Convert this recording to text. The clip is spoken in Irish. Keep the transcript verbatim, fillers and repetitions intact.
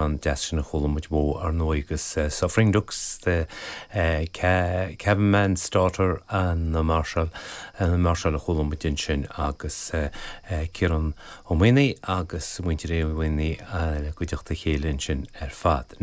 An deas sin a chuala muid uaidh ar ndóigh agus Suffering Ducks the Caveman's Daughter and the Marshal an Marshal a chuala muid ansin agus Ciarán Ó Maonaigh agus muintir Uí Mhaonaigh le cuideachta chéile ansin ar fad.